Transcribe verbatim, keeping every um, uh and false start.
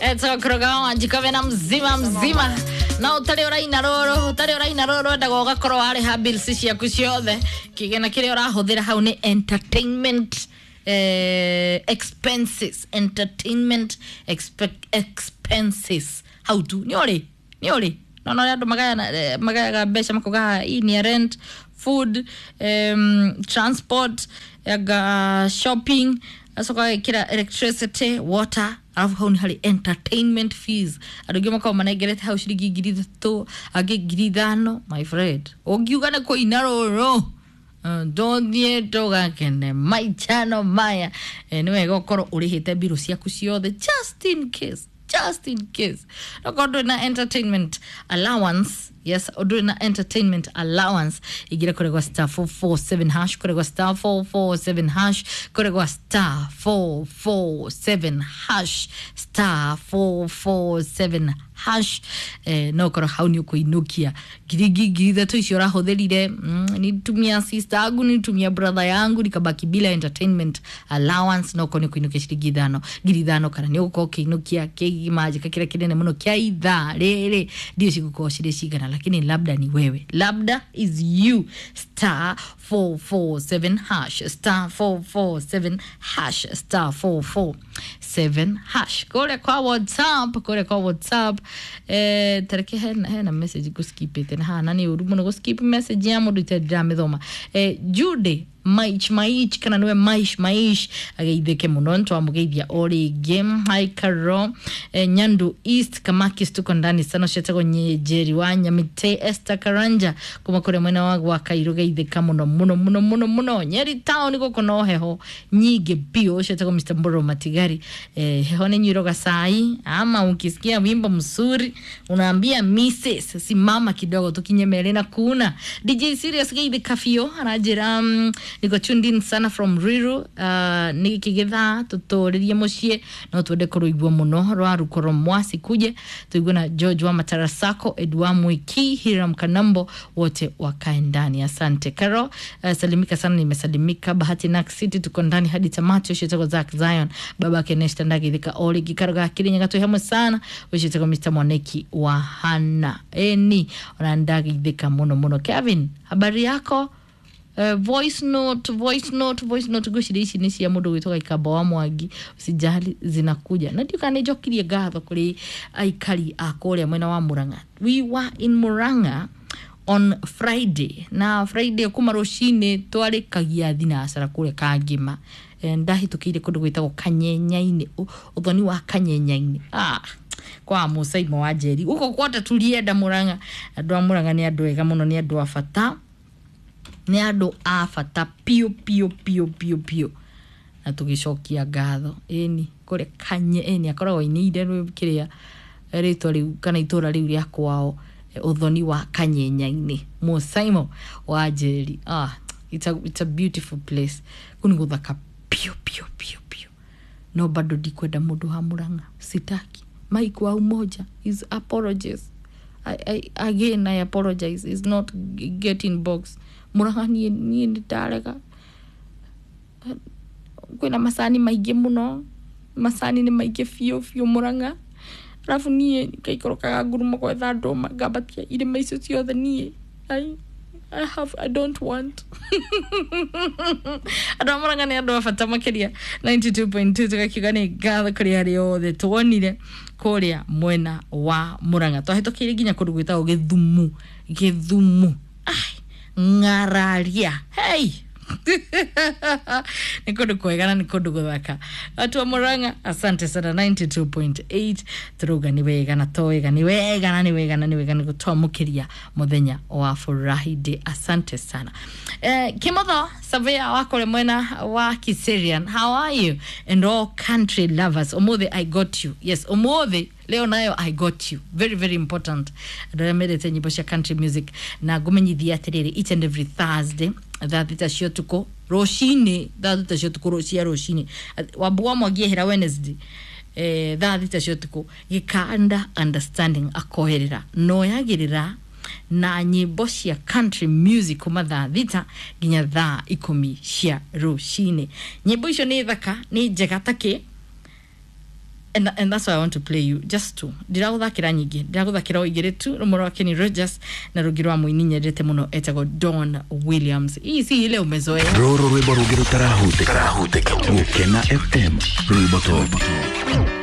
Etokroga wanjikove na mzima mzima na utari uraina ruru utari uraina ruru endaga ugakorwo wariha bills ciaku ciothe kigena kiria urahuthira hau ni entertainment eh, expenses entertainment expe expenses hau tu ni uri ni uri no no andu magayana eh, magayaga mbeca makuga hii ni ya rent, food, um, transport, aga shopping, acoka gekira electricity, water, arabu hau nĩ harĩ entertainment fees. Andũ aingĩ makoragwo manengerete hau ciringi ngiri ithatũ, angĩ ngiri ithano. My friend, ũngiuga nĩ kũina rũrũ ndũthiĩ ndũgakene maichano maya, eh, nĩ wega ũkorwo ũrĩhĩte mbirũ ciaku ciothe just in case, just in case. Okorwo ndũrĩ na entertainment allowance, yes, ndũrĩ na entertainment allowance, ingĩra kũrĩ gwa star four four seven hash, kũrĩ gwa star four four seven hash, kũrĩ gwa star four four seven hash, star four four seven hash, eh, no ũkorwo hau nĩ ũkũinũkia ngiri ngiri ithatũ icio ũrahũthĩrire. mm, nitumia sister yangu, nitumia brother yangu, nikabaki bila entertainment allowance, no ũkorwo nĩ ũkũinũkia ciringi ithano, ngiri ithano, kana nĩ ũgũkorwo ũkĩinũkia kĩmanjĩka kĩrĩa kĩnene mũno kĩa ithaa rĩrĩ, ndiũ cigũkorwo cirĩ cigana, lakini labda ni wewe, labda is you. Star four four seven hash, star four four seven hash, star four four seven hash. Kũrĩa kwa WhatsApp, kũrĩa kwa WhatsApp, eh, tareke hena, hena message ngũskipĩte na haha na nĩ ũru mũno gũskip message ya mũndũ itarĩ ndĩramĩthoma. Eh, Jude Maich Maich kana niwe Maish Maish ageithĩke mũno nĩtwamũgeithia o rĩngĩ. Hi Caro, eh, Nyandu East Kamakis, tuko ndani sana. Cietagwo Njeri wa Nyamite, Esther Karanja kuma kũrĩa mwena wa gwa Kairũ, geithĩka mũno mũno mũno mũno mũno. Nyeri town gũkũ no heho nyingĩ biũ. Cietagwo Mister Mboro Matigari, eh, heho nĩ nyuiroga cai ama ukisikia wimbo mzuri unaambia Missus simama kidogo tukinyemerere na kuna D J Serious geithĩka biũ aranjĩra mm, niko tuned in sana from Ruiru, uh, nĩ kĩgĩthaa tũtũrĩrie mũciĩ no twende kũrũigua mũno rwa rukoro mwasi kuje tuigue na George wa Matarasako, Edwa Mwiki, Hiram Kanambo, wote wakae ndani. Asante Karo, uh, salimika sana, nimesalimika. Bahati Nak City tuko ndani hadi tamati. Ushitako Zack Zion, baba Keneshta Ndagithika Oli gikaro ga Kirinyaga twĩ hamwe sana. Ushitako Mister Mwaneki wa Hana eni ona ndagithika mũno mũno. Kevin, habari yako? Uh, voice note, voice note, voice note ngwĩciria ici nĩ cia mũndũ gwĩtwo Gaikamba wa Mwangi, usijali zinakuja na ndiũka nĩ njokirie ngatho kũrĩ aikari a kũrĩa mwena wa Murang'a. We were in Murang'a on Friday na Friday kuma rũcinĩ twarĩkagia thinacara kũrĩa Kangima. Eh, ndahĩtũkĩire kũndũ gwĩtagwo Kanyenyainĩ, ũthoni wa Kanyenyainĩ, ah, kwa Musaimo wa Njeri gũkũ kwota tulienda Murang'a. Andũ a Murang'a nĩ andũ ega mũno, nĩ andũ a bata, nĩ andũ a bata piũ piũ piũ piũ piũ, na tũgĩcokia ngatho ĩni kũrĩa Kanye ĩni akoragwo ainĩire kĩrĩa rĩtwa rĩu kana itũra rĩu rĩa kwao, ũthoni wa Kanyenyainĩ, Musaimo wa Njeri. Ah, it's a, it's a beautiful place, kũu nĩ gũthaka piũ piũ piũ piũ, no bado ndikwenda mũndũ wa Murang'a, sitaki Mike wa Umoja is apologies. I, I, again I apologize, is not getting box Murang'a. Niĩ niĩ nĩ ndarega, kwĩna macani maingĩ mũno, macani nĩ maingĩ biũ biũ Murang'a, arabu niĩ ngaikũrũkaga ngurumo gwetha ndũma ngambatia irĩma icio ciothe niĩ I, I have, I don't want. Andũ a Murang'a nĩ andũ a bata makĩria. ninety two point two tũgakiuga nĩ ngatho kũrĩ arĩa othe tuonire kũrĩa mwena wa Murang'a. Twahĩtũkĩire nginya kũndũ gwĩtagwo Gĩthumu, Gĩthumu, ai ng'araria, hey nĩ kũndũ kwega na nĩ kũndũ gũthaka. Watu wa Murang'a asante sana. ninety two point eight tũrauga nĩ wega na to wega, nĩ wega na nĩ wega na nĩ wega nĩ gũtwamũkĩria mũthenya wa Friday. Asante sana. Eh, Kimotho Savea wa kũrĩa mwena wa Kiserian, how are you and all country lovers? Ũmũthĩ I got you. Yes, ũmũthĩ leo nayo I got you, very very important. Andũ arĩa mendete nyĩmbo cia country music, na ngũmenyithia atĩrĩrĩ, each and every Thursday thaa thita cia ũtukũ rũcinĩ, thaa thita cia ũtukũ cia rũcinĩ, Wambu wa Mwangi ehera Wednesday, eh, thaa thita cia ũtukũ gĩkanda understanding akoherera noyagĩrĩra na nyĩmbo cia country music kuma thaa thita nginya thaa ikũmi cia rũcinĩ. Nyĩmbo icio nĩ thaka, nĩ njega takĩ. and, and that's why I want to play you just two. Ndiraguthakira nyingi, ndiraguthakira o igiri tu, rumwe rwa Kenny Rogers na rungi rwa muini nyendete muno etagwo Don Williams. Hii si ile umezoea. Rũrũ rwĩmbo rũngĩ rũtarahutĩka. Gũkena F M, rwĩmbo top.